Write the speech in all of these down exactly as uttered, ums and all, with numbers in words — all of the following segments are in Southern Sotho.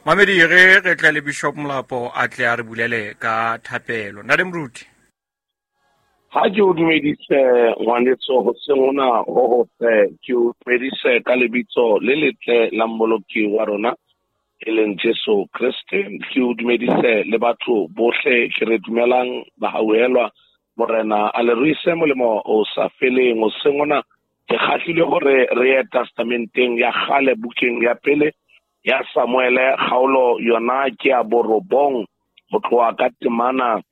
Mamedi re re tle le Bishop Molapo a tle a re bulele ka thapelo. Ntate Moruti. Ha ke o dumedise ngwanetso hoseng hona ho hotle, ke o dumedise ka lebitso le letle la Mmoloki wa rona e leng Jesu Kreste. Ke o dumedise le batho bohle ke re dumelang ba hauhelwa Morena a le ruise molemo o sa feleng. Hoseng hona ke kgahlile hore re ye testamenteng ya kgale bukeng ya pele ya Samuele kgaolo yona ke ya borobong ho tloha ka temana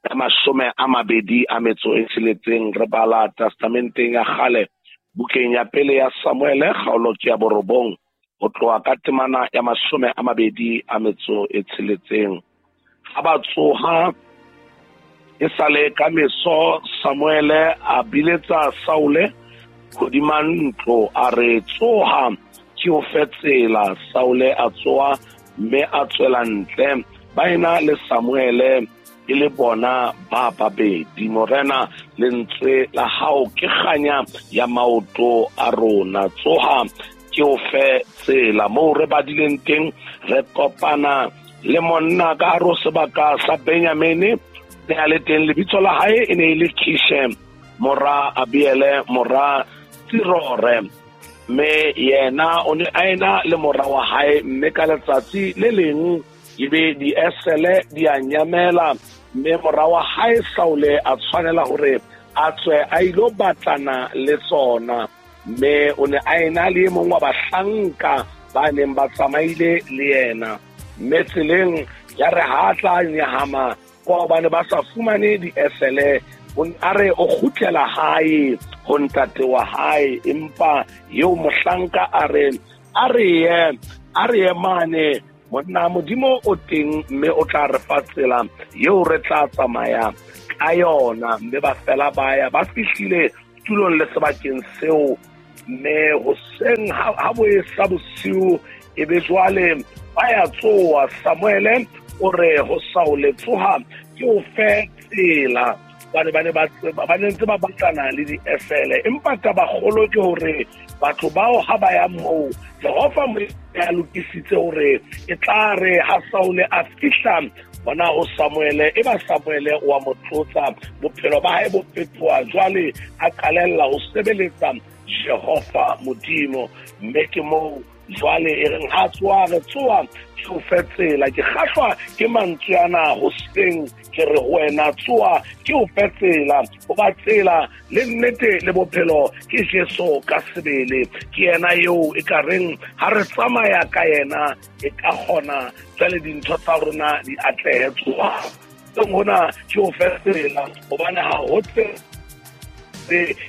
ya mashome a mabedi a metso e tsheletseng. Re bala testamenteng ya kgale bukeng ya pele ya Samuele kgaolo ke ya borobong ho tloha ka temana ya mashome a mabedi a metso e tsheletseng. Ha ba tsoha e sale ka meso, Samuele a biletsa Saule hodima ntlo a re, tsoha ke o fe tsela. Saule a tsoha mme a tswela ntle, ba ena le Samuele e le bona ba babedi. Morena, lentswe la hao ke kganya ya maoto a rona. Tsoha ke o fe tsela. Moo re badileng teng re kopana le monna ka hare ho sebaka sa Benjamine, ne a le teng, lebitso la hae e ne e le Kishe mora Abiele mora Tsirore, mme yena o ne a ena le mora wa hae. Mme ka letsatsi le leng ebe diesele di a nyamela, mme mora wa hae Saule a tshwanela hore a tswe a ilo batlana le tsona. Mme o ne a ena le e mong wa bahlanka ba neng ba tsamaile le yena. Mme tseleng ya re ha tla nyahama kwa hobane ba sa fumane diesele, a re o kgutlela hae ho ntate wa hae. Empa eo mohlanka a re, a re ye, a re ye mane, monna Modimo o teng mme o tla re fa tsela eo re tla tsamaya ka yona. Mme ba fela ba ya, ba fihlile tulong le sebakeng seo. Mme hoseng ha bo esa bosiu e be jwale ba ya tsoha. Samuele o re ho Saule, tsoha ke o fe tsela. Ba ne ba ne ba ba ne ntse ba batlana le diesele. Empa taba kgolo ke hore batho bao ha ba ya moo, Jehova Modimo a lokisitse hore e tla re ha Saule a fihla bona ho Samuele, e ba Samuele wa mo tlotsa, bophelo ba hae bo fetoha. Jwale a qalella ho sebeletsa Jehova Modimo. Mme ke moo jwale e reng ha tsoha, re tsoha ke o fe tsela. Ke kgahlwa ke mantswe ana hoseng, ke re ho wena tsoha ke o fe tsela. Hoba tsela le nnete le bophelo ke Jesu ka sebele. Ke yena eo e ka reng ha re tsamaya ka yena e ka kgona jwale dintho tsa rona di atlehe. Tsoha hona ke o fe tsela, hobane ha ho tsela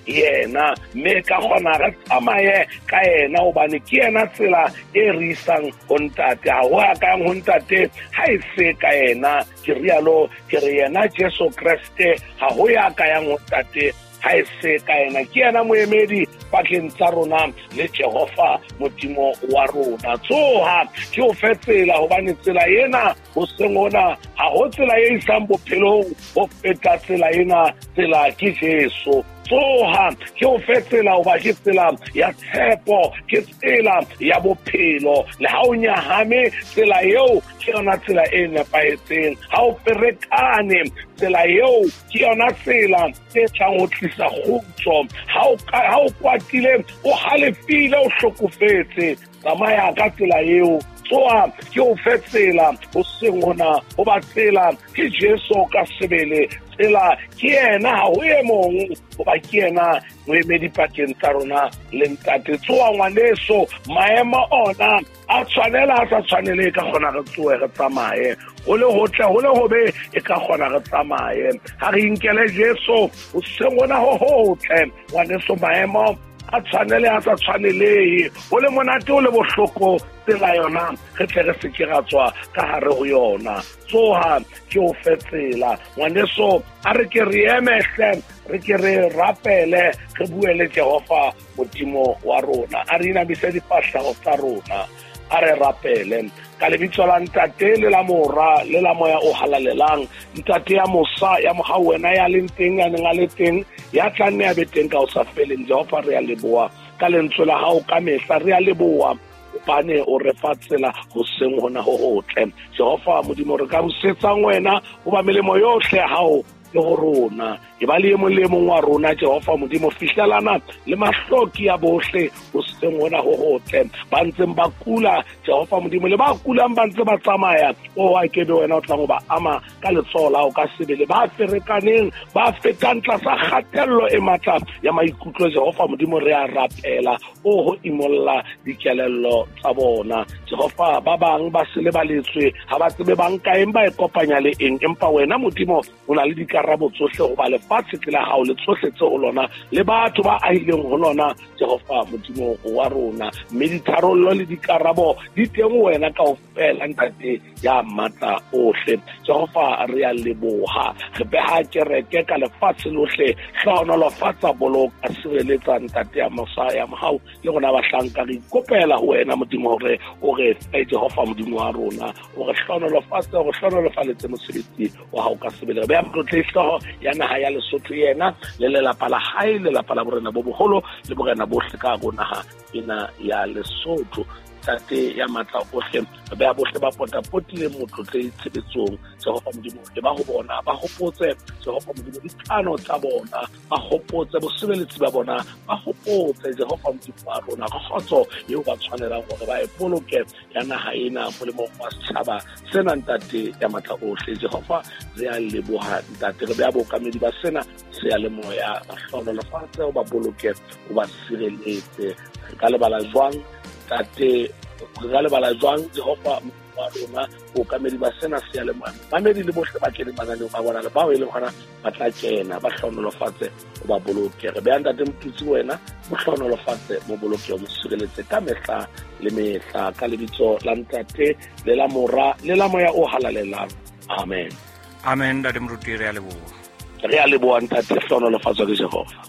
yena, mme ka kgona re tsamaye ka yena, hobane ke yena tsela e re isang ho ntate. Ha ho ya kang ho ntate ha e se ka yena. Ke rialo ke re yena Jesu Kreste, ha ho ya ka yang ho ntate ha e se ka yena. Ke yena moemedi pakeng tsa rona le Jehova Modimo wa rona. Tsoha ke o fe tsela, hobane tsela ena hoseng hona ha ho tsela e isang bophelong ho feta tsela ena. Tsela ke Jesu. Tsoha ke o fe tsela, hoba ke tsela ya tshepo, ke tsela ya bophelo. Le ha o nyahame, tsela eo ke yona tsela e nepahetseng. Ha o ferekane, tsela eo ke yona tsela e tlang ho tlisa kgutso. Ha o ha o kwatile, o halefile, o hlokofetse, tsamaya ka tsela eo. Tsoha ke o fe tsela hoseng hona, hoba tsela ke Jesu ka sebele. Tsela ke yena, ha ho e mong, hoba ke yena moemedi pakeng tsa rona le ntate. Tsoha ngwaneso, maemo ona a tshwanela a sa tshwanele, e ka kgona re tsohe re tsamaye. Ho le hotle, ho le hobe, e ka kgona re tsamaye. Ha re inkele Jesu hoseng hona ho hotle ngwaneso, maemo a tshwanele a sa tshwanelehe, ho le monate ho le bohloko, tsela yona re tle re se ke ra tswa ka hare ho yona. Tsoha ke o fe tsela ngwaneso, a re ke re eme hle, re ke re rapele, re bue le Jehova Modimo wa rona. A re inamise difahleho tsa rona, a re rapele ka lebitso la Ntate le la Mora le la Moya o Halalelang. Ntate ya mosa ya mohau, wena ya leng teng, ya neng a le teng, ya tla nne a be teng ka ho sa feleng. Jehova, re a leboha ka lentswe la hao ka mehla. Re a leboha Hobane o re fa tsela hoseng hona ho hotle. Jehova Modimo re ka busetsang wena hoba melemo yohle ya hao le ho rona. E ba le e mong le e mong wa rona Jehova Modimo fihlelana le mahloki a bohle hoseng hona ho hotle. Ba ntseng ba kula Jehova Modimo le ba kulang ba ntse ba tsamaya, o a ke be wena o tlang ho ba ama ka letsoho la hao ka sebele. Ba ferekaneng ba fetang tlasa kgatello e matla ya maikutlo Jehova Modimo re a rapela o ho imolla dikelello tsa bona. Jehova ba bang ba se lebaletswe ha ba tsebe bang kaeng ba e kopanya le eng, empa wena Modimo o na le dikarabo tsohle hoba lefatshe ke la hao le tsohle tse ho lona le batho ba ahileng ho lona Jehova Modimo wa rona. Mme ditharollo le dikarabo di teng ho wena kaofela Ntate ya matla ohle. Jehova re a leboha, re beha kereke ka lefatshe lohle, hlohonolofatsa, boloka, sireletsa Ntate ya mosa ya mohau le rona bahlanka re ikopela ho wena Modimo hore o re fe Jehova Modimo wa rona, o re hlohonolofatse, o re hlohonolofaletse mosebetsi wa hao ka sebele. Re beha motlotle hlooho ya naha ya Lesotho yena le lelapa la hae, lelapa la borena bo boholo le borena bohle ka hare ho naha ena ya Lesotho. Ntate ya matla ohle, re beha bohle ba potapotileng motlotle tshebetsong Jehova Modimo, e ba ho bona ba hopotse Jehova Modimo dikano tsa bona, ba hopotse bosebeletsi ba bona, ba hopotse Jehova Modimo wa rona kgotso eo ba tshwanelang hore ba e boloke ya naha ena molemong wa setjhaba sena Ntate ya matla ohle. Jehova re a leboha Ntate, re beha bookamedi ba sena seyalemoya, ba hlohonolofatse, o ba boloke, o ba sireletse. Re ka lebala jwang Ntate, re ka lebala jwang Jehova wa rona bookamedi ba sena seyalemoya, mamedi le bohle ba keneng mananeong a bona le bao e leng hona ba tla kena, ba hlohonolofatse, o ba boloke. Re beha Ntate Motutsi wena, mo hlohonolofatse, mo boloke, o mo sireletse ka mehla le mehla, ka lebitso la Ntate le la Mora le la Moya o Halalelang. Amen. Amen. Ntate Moruti, re a leboha. Re a leboha Ntate, hlohonolofatswa ke Jehova.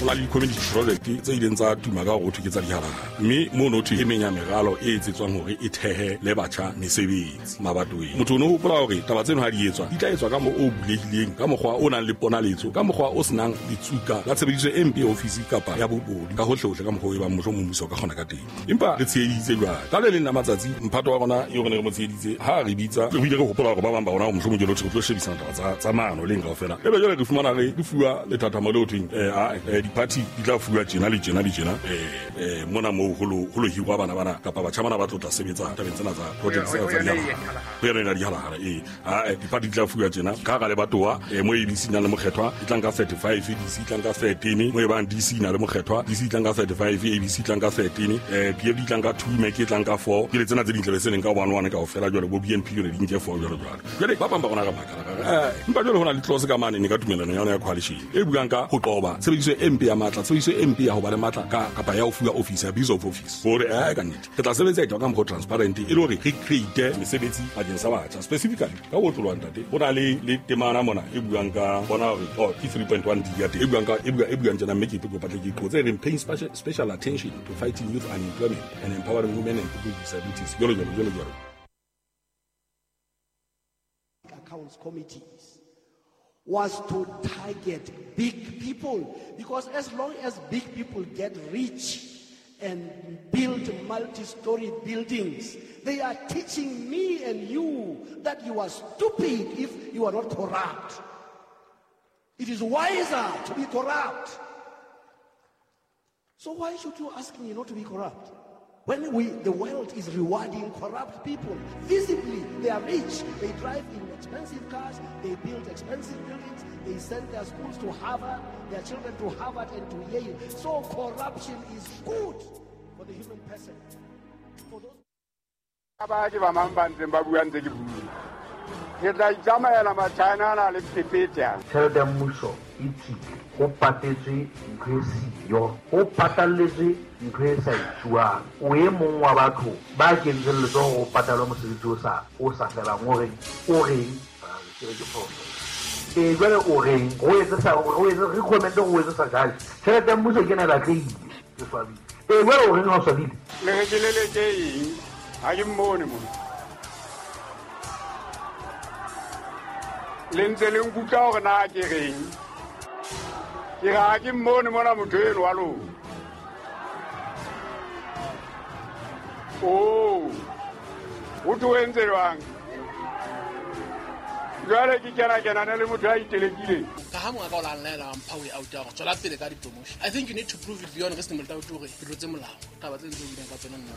La di-community project tse ileng tsa tuma ka hore ho thwe ke tsa dihalala, mme mono thwe e meng ya meralo e etsetswang hore e thehe le batjha mesebetsi mabatoweng. Motho o no hopola hore taba tseno ha di etswa di tla etswa ka mo o bulehileng, ka mokgwa o nang le ponaletso, ka mokgwa o senang ditsuka la tshebediso e mpe ya ofisi kapa ya bobodu ka hohlehohle, ka mokgwa o e bang mohlomong mmuso o ka kgona ka teng. Empa re tsheheditse jwale ka le leng la matsatsi mphato wa rona eo re ne re mo tsheheditse ha re bitsa, re bile re hopola hore ba bang ba rona mohlomong jwale re tlo shebisana taba tsa tsa maano leng kaofela, ebe jwale re fumana re re fuwa lethathamo leo thweng eh party di tla fuwa tjena le tjena le tjena eh eh mona moo ho lo ho lo hirwa bana bana kapa batjha bana ba tlo tla sebetsa tabeng tsena tsa projects tsa tsa dihalala ho yona dihalala eh ha di-party di tla fuwa tjena ka hara lebatowa eh mo A B C na le mokgethwa e tlang ka thirty-five, D C e tlang ka thirteen, mo e bang D C na le mokgethwa D C e tlang ka thirty-five, A B C e tlang ka thirteen, eh P F D e tlang ka two, M E C e tlang ka four, ke le tsena tse ding tlabe se leng ka one one kaofela jwale bo B N P yone di nke four jwalo jwalo. Jwale ba bang ba rona ka makala eh empa jwale ho na le clause ka mane ne ka tumelano ya yona ya coalition e buang ka ho qoba tshebediso e mpe ya matla, tshebediso e mpe ya ho ba le matla ka kapa ya ho fuwa office, abuse of office, hore eh ka nnete re tla sebetsa e ka mokgwa transparent e le hore re create mesebetsi bakeng sa batjha specifically ka ho tlolwa ntate. Ho na le le temana mona e buang ka bona hore oh ke three point one D ya teng e buang ka e buang e buang tjena, mme ke ke batle ke qotse e reng paying special, special attention to fighting youth unemployment and empowering women and people with disabilities, jwalo jwalo jwalo jwalo. Accounts committees was to target big people, because as long as big people get rich and build multi-story buildings, they are teaching me and you that you are stupid if you are not corrupt. It is wiser to be corrupt. So why should you ask me not to be corrupt? When we, the world is rewarding corrupt people, visibly they are rich, they drive in expensive cars, they build expensive buildings, they send their schools to Harvard, their children to Harvard and to Yale. So corruption is good for the human person. For those ba ke ba mang ba ntseng ba bua ntse ke bua. Ke tla itsamaela Machina ana le phephethe. Tjhelete ya mmuso e tswile, ho patetswe ntho e siyo, ho patalletswe ntho e sa etsuwang. O e mong wa batho ba kentseng letsoho ho patalwa mosebetsi o sa o sa felang, o reng o reng ke re ke phoso. E jwale o reng o etse sa o etse re comment o etse sa jale. Tjhelete ya mmuso ke ena e batlehile, ke swabile. E jwale o reng ha o swabile? Le re ke leleke eng? Ha ke mmone mona. Le ntse le nkutlwa hore na ke reng. Ke re ha ke mmone mona motho eno wa lona. Oh, o tlo entse jwang? Jwale ke kena kenane le motho a itelekileng. Ka ha monga ka o la nlaela wa mpha way out ya hore tswela pele ka di-promotion. I think you need to prove it beyond reasonable doubt hore ke tlotse molao. Taba tse ntse o buileng ka tsona nna.